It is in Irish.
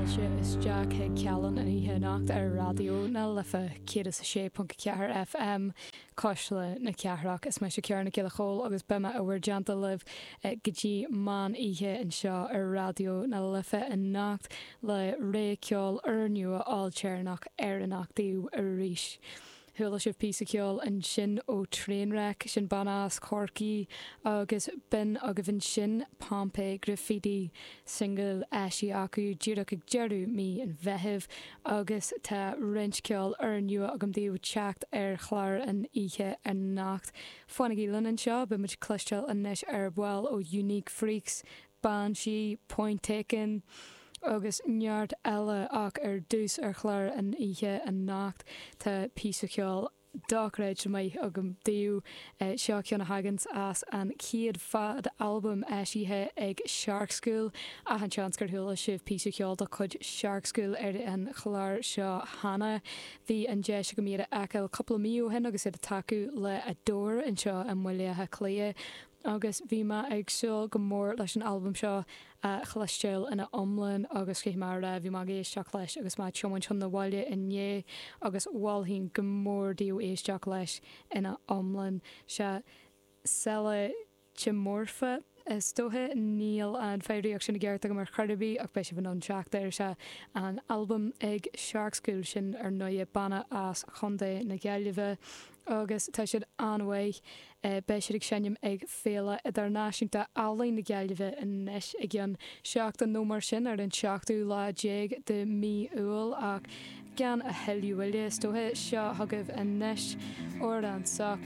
Fáilte isteach chuig Cealann an oíche anocht ar Raidió na Life 106.4 FM, Cuisle na Cathrach. Is mise Ciara Nic Giolla Chóill agus beidh mé i bhur dteannta libh go dtí meán oíche anseo ar Raidió na Life anocht le rogha ceoil úrnua ailtéarnach Éireannach daoibh arís. Chuala sibh píosa ceoil ansin ó Trainwreck, sin banna as Corcaigh, agus b'in agaibh ansin Pompeii Graffiti, singil eisithe acu díreach ag deireadh mí an Mheithimh, agus tá roinnt ceoil úrnua agam daoibh teacht ar chlár an oíche anocht. Fanaigí linn anseo, beidh muid ag cloisteáil anois ar ball ó Unique Freaks, Banshee, Point Taken agus neart eile ach ar dtús ar chlár an oíche anocht tá píosa ceoil dochreidte maith agam daoibh. Seo ceann a thaganns as an chéad fad-albam eisithe ag Shark School. Achan seans gur chuala sibh píosa ceoil de chuid Shark School ar an chlár seo cheana. Bhí an deis agam iad a fheiceáil cúpla mí ó shin agus iad ag tacú le Adore anseo i mBaile Átha Cliath. Agus bhí mé ag súil go mór leis an albam seo a chloisteáil ina iomlán agus caithfidh mé a rá, bhí mé ag éisteacht leis agus mé ag tiomáint chun na bhaile inné agus mholfainn go mór daoibh éisteacht leis ina iomlán. Sea, Selachimorpha is dócha, níl an foghraíocht sin i gceart agam ar chor ar bith ach beidh sibh in ann teacht air. Sea, an albam ag Shark School, sin ar ndóighe banna as Chontae na Gaillimhe. agus tá siad an-mhaith. Beidh siad ag seinm ag Féile Idirnáisiúnta Ealaíon na Gaillimhe anois i gceann seachtain nó mar sin, ar an seachtú lá déag de mí Iúil, ach gan a thuilleadh moille, is dócha, seo chugaibh anois Amhrán Soc.